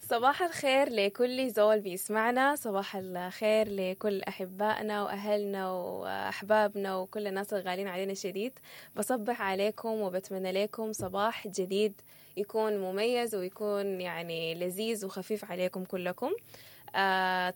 صباح الخير لكل زول بيسمعنا، صباح الخير لكل أحبائنا وأهلنا وأحبابنا وكل الناس الغالين علينا شديد. بصبح عليكم وبتمنى لكم صباح جديد يكون مميز ويكون يعني لذيذ وخفيف عليكم كلكم.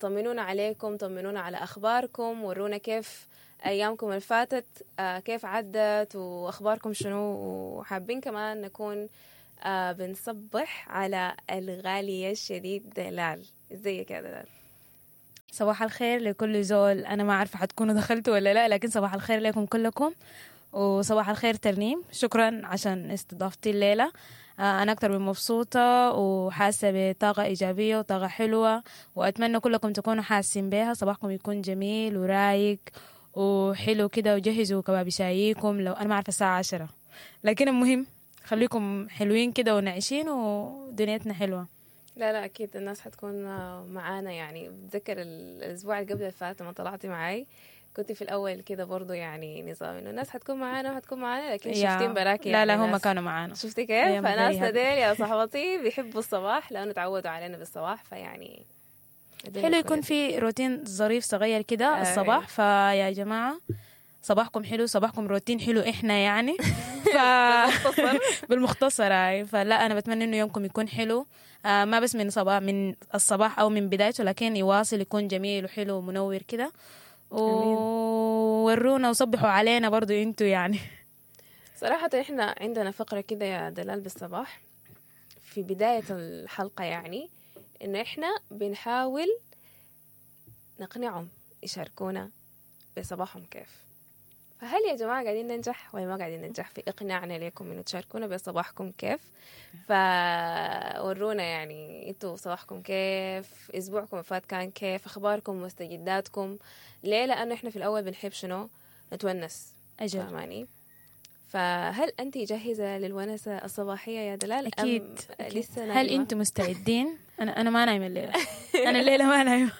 طمنونا عليكم، طمنونا على أخباركم، ورونا كيف أيامكم الفاتت، كيف عدت وأخباركم شنو. وحابين كمان نكون بنصبح على الغالية الشديد دلال. ازيك يا دلال؟ صباح الخير لكل زول. أنا ما عارفة حتكونوا دخلتوا ولا لا، لكن صباح الخير لكم كلكم، وصباح الخير ترنيم. شكرا عشان استضافتي الليلة. أنا أكتر من مبسوطة وحاسة بطاقة إيجابية وطاقة حلوة، وأتمنى كلكم تكونوا حاسين بيها. صباحكم يكون جميل ورايق وحلو كده، وجهزوا كباب شايكم. لو أنا ما عارفة الساعة 10، لكن المهم خليكم حلوين كده ونعيشين ودنيتنا حلوة. لا لا، أكيد الناس حتكون معانا. يعني بتذكر الأسبوع اللي قبل الفات لما طلعتي معاي، كنت في الأول كده برضو يعني نظام إنه الناس حتكون معانا وحتكون معانا، لكن شفتين براكي. لا لا، يعني هم ناس. كانوا معانا. شفتي كيف؟ أيام فناسنا very happy. ديل يا صاحبتي بيحبوا الصباح لأنه تعودوا علينا بالصباح، فيعني الدنيا حلو بتكون يكون لذيذة. في روتين ظريف صغير كده الصباح. فيا جماعة صباحكم حلو، صباحكم روتين حلو. احنا يعني بالمختصر. بالمختصر هاي. فلا، انا بتمنى انه يومكم يكون حلو، ما بس من صباح، من الصباح او من بدايته، لكن يواصل يكون جميل وحلو ومنور كده. وورونا وصبحوا علينا برضو انتوا يعني. صراحة احنا عندنا فقرة كده يا دلال بالصباح في بداية الحلقة، يعني انه احنا بنحاول نقنعهم يشاركونا بصباحهم كيف. فهل يا جماعة قاعدين ننجح ولا ما قاعدين ننجح في إقناعنا لكم إنه تشاركونا بصباحكم كيف؟ فورونا يعني انتوا صباحكم كيف، أسبوعكم فات كان كيف، أخباركم مستجداتكم. ليه؟ لأنه إحنا في الأول بنحب شنو؟ نتونس. أجل. فاهماني؟ فهل أنت جاهزة للونسة الصباحية يا دلال؟ أكيد. أم أكيد. لسه هل نايمة؟ انتم مستعدين؟ انا ما نايمة الليلة، انا الليلة ما نايمة.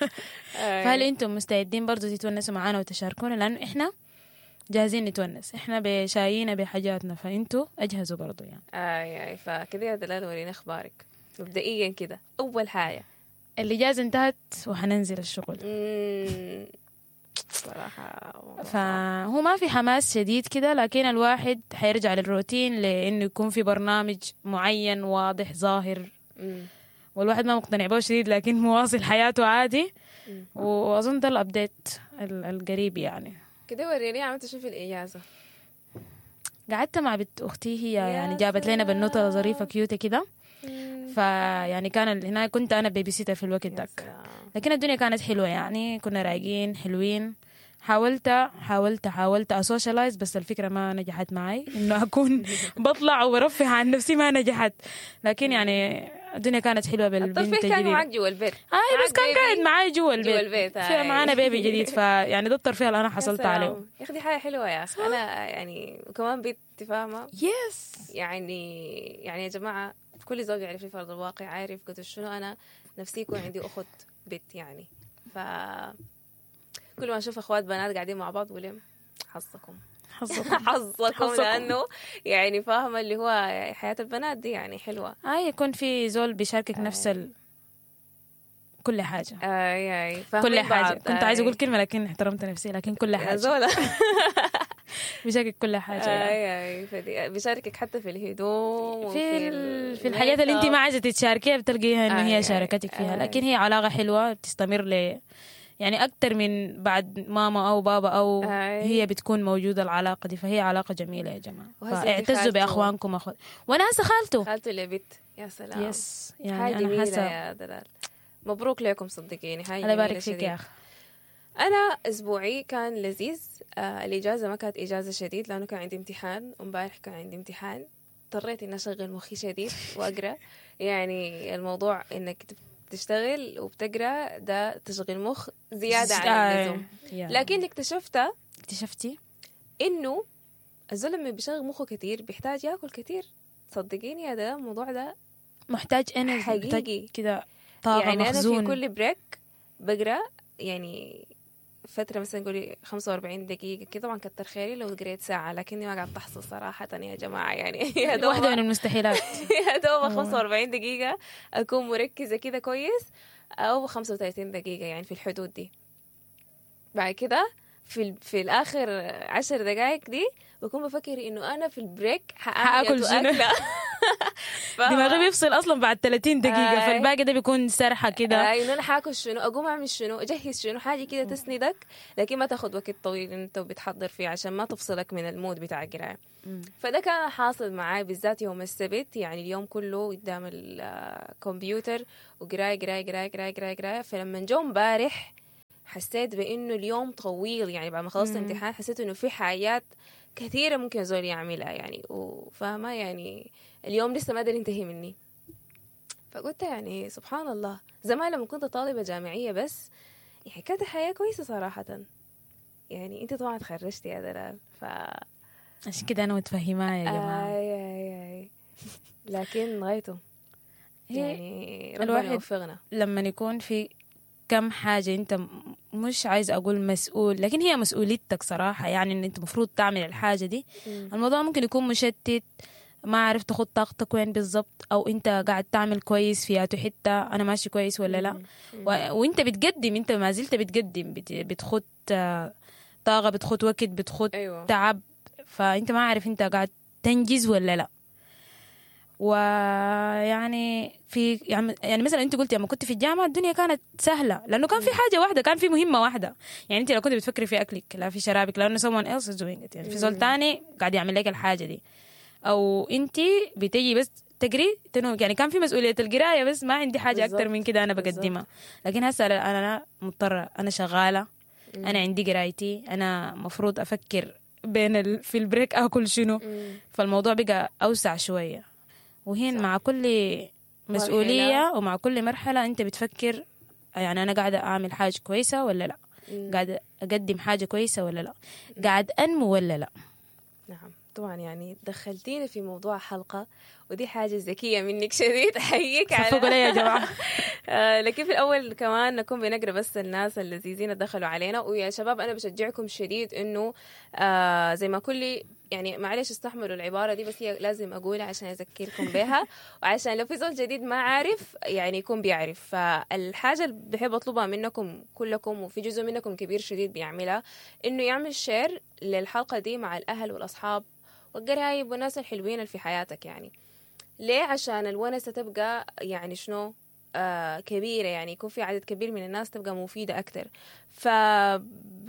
فهل انتم مستعدين برضو تتونسوا معانا وتشاركونا؟ لانه احنا جاهزين نتونس، احنا بشايينا بحاجاتنا، فانتوا اجهزوا برضو يعني. آي آي. فكده يا دلال ورينا أخبارك مبدئيا كده، أول حاجة. الإجازة انتهت وحننزل الشغل. صراحة موضوع صعب. فهو ما في حماس شديد كده، لكن الواحد حيرجع للروتين، لأنه يكون في برنامج معين واضح ظاهر. والواحد ما مقتنع به شديد، لكن مواصل حياته عادي. وأظن ده ال update القريب يعني. كده وريني عملت شو في الإجازة. قعدت مع بنت أختي، هي يا يعني جابت لنا بنوتة سلام. ظريفة cute كده. فيعني كان هناك كنت أنا babysitter في الوقت يا داك. سلام. لكن الدنيا كانت حلوة يعني، كنا رايقين حلوين. حاولت حاولت حاولت أ socialize، بس الفكرة ما نجحت معي، إنه أكون بطلع وبرفه عن نفسي ما نجحت. لكن يعني الدنيا كانت حلوة بالبنت الترفيه كان الجديدة. معك جوا البيت. آي، بس معك كان baby قاعد معاي جوا البيت. جوا البيت. في آي. معانا baby جديد، فيعني ده الترفيه اللي أنا يا حصلت سلام. عليه. يا أخي دي حاجة حلوة يا أخي. أنا يعني وكمان بنت فاهمة. يعني يا جماعة كل زوج يعرف في أرض الواقع، عارف قلت شنو، أنا نفسي يكون عندي أخت بنت يعني. ف كل ما أشوف أخوات بنات قاعدين مع بعض بقول لهم حظكم. حظكم. حظكم، حظكم. لأنه يعني فاهمة اللي هو حياة البنات دي يعني حلوة. يكون في زول بيشاركك نفس كل حاجة. آي آي. فاهمين كل حاجة. بعض. كنت عايزة آي. أقول كلمة لكن احترمت نفسي، لكن كل يا حاجة. زولا. بيشاركك كل حاجة يعني. آي آي. بيشاركك حتى في الهدوم وفي في الحاجات اللي انت ما عايزة تتشاركيها بتلقيها انه هي آي. شاركتك فيها. آي. لكن هي علاقة حلوة بتستمر ل يعني أكتر من بعد ماما أو بابا أو هي بتكون موجودة العلاقة دي، فهي علاقة جميلة يا جماعة. وهسه انت فاعتزوا خالته. بأخوانكم أخوات. وأنا هسه خالته. خالته اللي بنت. يا سلام. yes. يعني حاجة أنا جميلة حاسة يا دلال. مبروك لكم صدقيني، حاجة الله جميلة يبارك فيك شديد. يا أخي. أنا أسبوعي كان لذيذ. الإجازة ما كانت إجازة شديد لأنه كان عندي امتحان، وامبارح كان عندي امتحان، اضطريت إني أشغل مخي شديد وأقرأ. يعني الموضوع إنك تشتغل وبتقرأ ده تشغيل مخ زيادة عن اللزوم. لكن اكتشفت اكتشفتي؟ إنه الزلمة اللي بيشغل مخه كتير بيحتاج ياكل كتير. صدقيني يا ده الموضوع ده محتاج energy، محتاج حقيقي. كده طاقة يعني أنا في مخزون. كل break بقرأ، يعني فترة مثلا قولي 45 دقيقة كده. طبعا كتر خيري لو قريت ساعة، لكني ما قاعد تحصل صراحة يا جماعة يعني. يا دوب واحدة من المستحيلات. يا دوب 45 دقيقة أكون مركزة كده كويس، أو 35 دقيقة يعني في الحدود دي. بعد كده في الآخر 10 دقائق دي بكون بفكر إنه أنا في ال break حآكل حآكل شنو؟ أكلة. فاهمة؟ دماغي بيفصل اصلا بعد 30 دقيقة، آي. فالباقي ده بيكون سرحه كده. اي انه انا حاكل شنو، اقوم اعمل شنو، اجهز شنو، حاجة كده تسندك، لكن ما تاخذ وقت طويل انت بتحضر فيه عشان ما تفصلك من ال mood بتاع القراية. فده كان حاصل معاي بالذات يوم السبت، يعني اليوم كله قدام الكمبيوتر وقرايه قرايه قرايه قرايه قرايه قرايه. فلما جو امبارح حسيت بانه اليوم طويل، يعني بعد ما خلصت الامتحان حسيت انه في حاجات كثيرة ممكن زول يعملها يعني، وفاهمه يعني اليوم لسه ما قدر ينتهي مني. فقلت يعني سبحان الله، زمان لما كنت طالبة جامعية بس يعني كانت الحياة كويسة صراحة. يعني انت طبعا تخرجتي يا دلال، ف عشان كده انا متفهمه يا جماعة. اي اي اي، لكن غايته هي يعني ربنا الواحد يوفقنا. لما يكون في كم حاجة انت مش عايز اقول مسؤول، لكن هي مسؤوليتك صراحة، يعني ان انت المفروض تعمل الحاجة دي. الموضوع ممكن يكون مشتت، ما عارف تاخد طاقتك وين بالضبط، او انت قاعد تعمل كويس في ياتو حتة، انا ماشي كويس ولا لا. وانت بتقدم، انت ما زلت بتقدم، بتخد طاقة، بتخد وقت، بتخد تعب، فانت ما عارف انت قاعد تنجز ولا لا. ويعني في يعني مثلا انت قلتي لما كنت في الجامعة الدنيا كانت سهلة، لانه كان في حاجة واحدة، كان في مهمة واحدة. يعني انت لو كنت بتفكري في اكلك لا في شرابك، لانه someone else is doing it، يعني في زول تاني قاعد يعمل لك الحاجة دي، او انت بتجي بس تقري تنوم. يعني كان في مسؤولية القراية بس، ما عندي حاجة اكتر من كده انا بقدمها. لكن هسه انا مضطرة، انا شغالة، انا عندي قرايتي، انا مفروض افكر بين في ال break اكل شنو. فالموضوع بقى اوسع شوية. وهين مع كل مسؤولية مرحلة، ومع كل مرحلة أنت بتفكر يعني أنا قاعدة أعمل حاجة كويسة ولا لا، قاعدة أقدم حاجة كويسة ولا لا، قاعد أنمو ولا لا. نعم طبعا، يعني دخلتينا في موضوع حلقة، ودي حاجة ذكية منك شديد، أحييك على صفقوا لي يا جماعة. لكن في الأول كمان نكون بنقرأ بس الناس اللذيذين دخلوا علينا. ويا شباب أنا بشجعكم شديد إنه زي ما كل يعني معلش استحملوا العبارة دي، بس هي لازم أقولها عشان أذكركم بها، وعشان لو في زول جديد ما عارف يعني يكون بيعرف. فالحاجة اللي بحب أطلبها منكم كلكم، وفي جزء منكم كبير شديد بيعملها، إنه يعمل share للحلقة دي مع الأهل والأصحاب والقرايب والناس الحلوين اللي في حياتك. يعني ليه؟ عشان الونسة تبقى يعني شنو كبيرة، يعني يكون في عدد كبير من الناس تبقى مفيدة أكتر. ف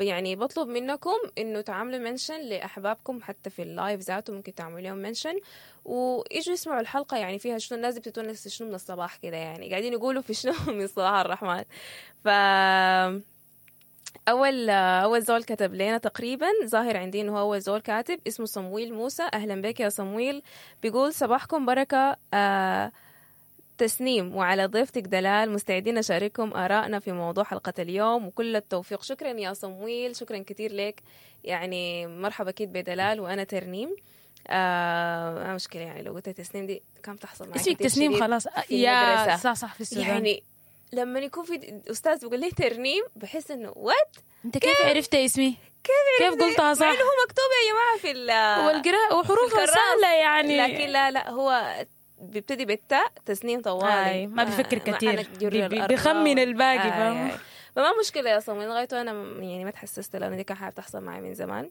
يعني بطلب منكم إنه تعملوا mention لأحبابكم، حتى في ال live ذاته ممكن تعملوا لهم mention ويجوا يسمعوا الحلقة. يعني فيها شنو الناس بتتونس شنو من الصباح كده، يعني قاعدين يقولوا في شنو من صباح الرحمن. ف أول زول كتب لنا تقريبا، ظاهر عندي إنه هو أول زول كاتب، اسمه صمويل موسى. أهلا بك يا صمويل. بيقول صباحكم بركة تسنيم وعلى ضيفتك دلال، مستعدين نشارككم آرائنا في موضوع حلقة اليوم وكل التوفيق. شكرا يا صمويل، شكرا كثير لك. يعني مرحبا أكيد بدلال وأنا ترنيم. مشكلة يعني لو قلت تسنيم دي كم تحصل معي اسمك تسنيم خلاص يا صح صح في السودان. يعني لما يكون في أستاذ بيقول لي ترنيم بحس إنه what، أنت كيف عرفت اسمي؟ كيف قلتها صح؟ مع إنه هو مكتوب يا جماعة في والقراءة وحروفها سهلة يعني، لكن لا لا هو بيبتدي بالتاء تسنيم طوالي، ما بيفكر كثير، بيخمن الباقي، فاهم؟ فما مشكلة يا صمويل، لغايته أنا يعني ما تحسست لأنه دي كان حاجة بتحصل معي من زمان،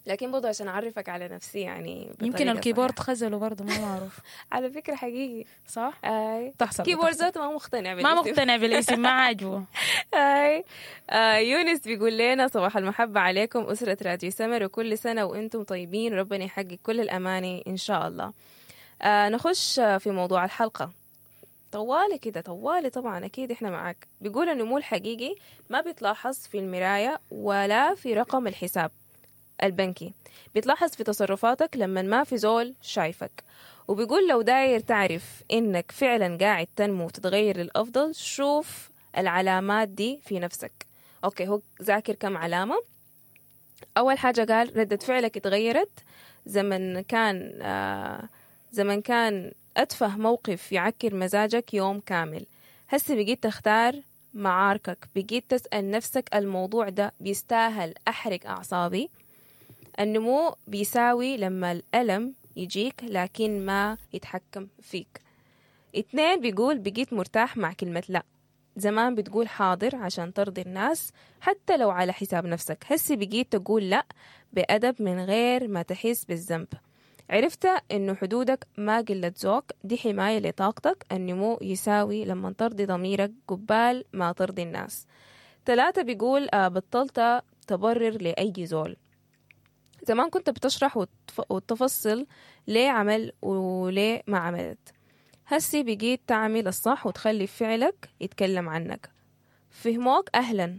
لكن برضه عشان أعرفك على نفسي يعني يمكن ال keyboard خزله برضه ما معروف. على فكرة حقيقي صح؟ أي تحصل. keyboard ذاته ما مقتنع بالاسم، ما مقتنع بالاسم، ما عاجبه. أي يونس بيقول لنا صباح المحبة عليكم أسرة راديو سمر، وكل سنة وأنتم طيبين، وربنا يحقق كل الأماني إن شاء الله. نخش في موضوع الحلقة طوالي كده، طوالي طبعا أكيد إحنا معاك. بيقول النمو الحقيقي ما بيتلاحظ في المراية ولا في رقم الحساب البنكي، بيتلاحظ في تصرفاتك لما ما في زول شايفك. وبيقول لو داير تعرف إنك فعلا قاعد تنمو وتتغير للأفضل، شوف العلامات دي في نفسك. okay، هو ذاكر كم علامة. أول حاجة قال ردة فعلك اتغيرت، زمن كان أتفه موقف يعكر مزاجك يوم كامل، هسه بقيت تختار معاركك، بقيت تسأل نفسك الموضوع ده بيستاهل أحرق أعصابي؟ النمو بيساوي لما الألم يجيك لكن ما يتحكم فيك. 2 بيقول بقيت مرتاح مع كلمة لا. زمان بتقول حاضر عشان ترضي الناس حتى لو على حساب نفسك، هسي بقيت تقول لا بأدب من غير ما تحس بالذنب. عرفت إنه حدودك ما قلة ذوق، دي حماية لطاقتك. النمو يساوي لما ترضي ضميرك قبال ما ترضي الناس. 3 بيقول بطلت تبرر لأي زول. زمان كنت بتشرح وتفصل ليه عمل وليه ما عملت، هسي بقيت تعمل الصح وتخلي فعلك يتكلم عنك. فهموك أهلا.